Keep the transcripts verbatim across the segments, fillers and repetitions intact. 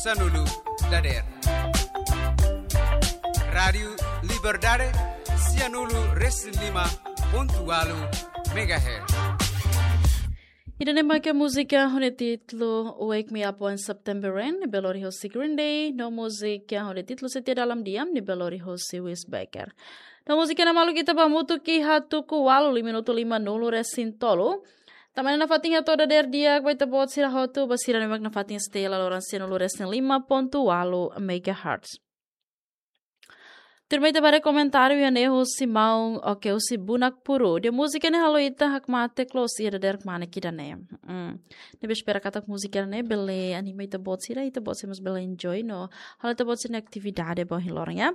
Sanulu dader. Rádiu Liberdade, sianulu resin lima pontu ualu megahertz. Ida-ne'e mak múzika ho nia títulu Wake Me Up When September Rain, ne'ebé lori hosi Green Day, no múzika ho nia títulu Setia Dalam Diam, ne'ebé lori hosi Wes Becker. No múzika ne'e maluk ita bá hamutuk iha tuku ualu, lima minutu lima nulu resin tolu. Tanba ne'e nafatin hato'o dader di'ak ba ita-boot sira hotu, ba sira ne'ebé mak nafatin stay iha loron sianulu resin lima pontu ualu megahertz. Tuirmai ita bá haree komentáriu iha ne'e husi maun, oke, husi Bunak Puru. Dehan múzika ne'e halo ita hakmatek loos iha dadeer kmanek ida-ne'e. Hmm. Ne'ebé espera katak múzika ne'e bele anima ita-boot sira, ita-boot sira mós bele enjoy no halo ita-boot sira-nia atividade ba ohin loron, ya.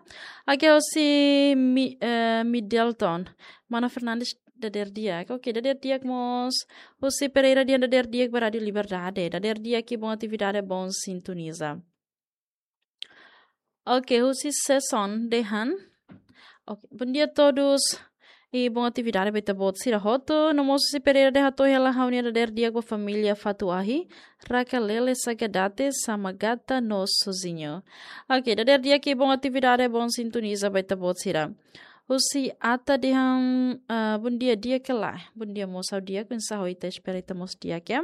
Oke, husi Mi-, eh, Middleton. Mana Fernandes dader di'ak. Oke, dader di'ak mós. Husi Pereira dehan dader di'ak ba Rádiu Liberdade. Dader di'ak i bon atividade, bon sintoniza. Oke, husi Seson dehan. Oke, bom dia a todos. I bon atividade ba ita-boot sira hotu. No mós husi Pereira dehan hato'o hela ha'u-nia dader di'ak ba família Fatuahi, Rakalele, Sagadate, Samagata no Sozinho. Oke, dader di'ak i bon atividade, bon sintoniza ba ita-boot sira. Husi Ata dehan, ah, bom dia, di'ak ka lae. Bom dia mós, ha'u di'ak, oinsá ho ita, espera ita mós di'ak, ya.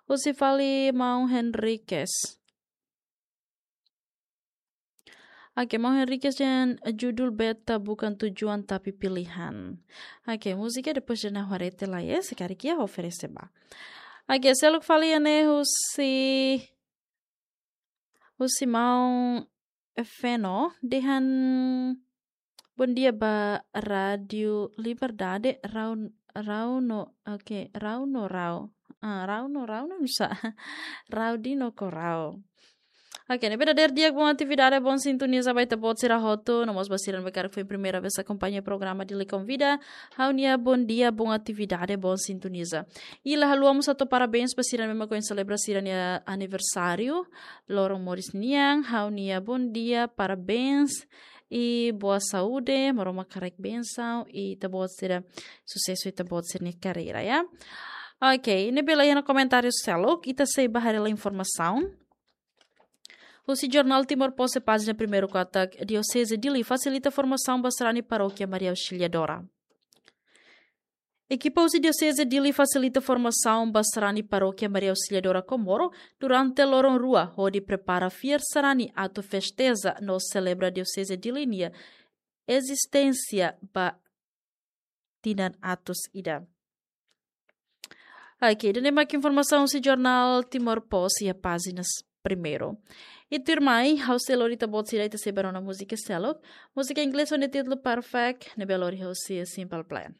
Husi fali maun Henriquez. Oke, maun Henriquez dehan judul Beta Bukan Tujuan Tapi Pilihan. Oke, múzika depois de na haree tiha lai, ya, se karik iha oferese bá. Oke, seluk fali iha ne'e husi, husi maun Feno, dehan bom dia ba Rádiu Liberdade, rau, rau no, oke, rau no rau. Ah, rau no rau no bisa. Rau di no ko rau. Oke, ne'ebé dader di'ak, bon atividade, bon sintoniza ba ita-boot sira hotu, no mós ba sira ne'ebé karik foin primeira vez akompaña programa Dili Konvida, ha'u-nia bom dia, bon atividade, bon sintoniza. I la haluha mós hato'o parabéns ba sira ne'ebé mak foin selebra sira-nia aniversáriu, loron moris nian, ha'u-nia bom dia, parabéns, i boa saúde, Maromak haraik bensaun, i ita-boot sira susesu, ita-boot sira-nia karreira, ya. Oke, ne'ebé laiha ona komentáriu seluk, ita sei bá haree lai informasaun. Husi jornál Timor Post pájina primeiru katak, Dioseze Dili fasilita formasaun ba sarani Parókia Maria Auxiliadora. Ekipa husi Dioseze Dili fasilita formasaun ba sarani Parókia Maria Auxiliadora Comoro durante loron rua, hodi prepara fiar sarani atu festeza no selebra Dioseze Dili nia ezisténsia ba tinan atus ida. Oke, ida-ne'e mak informasaun husi jornál Timor Post iha pájina primeiru. I tuirmai, ha'u sei lori ita-boot sira, ita sei bá rona múzika seluk. Múzika inglés ho nia títulu Perfect, ne'ebé lori husi Simple Plan.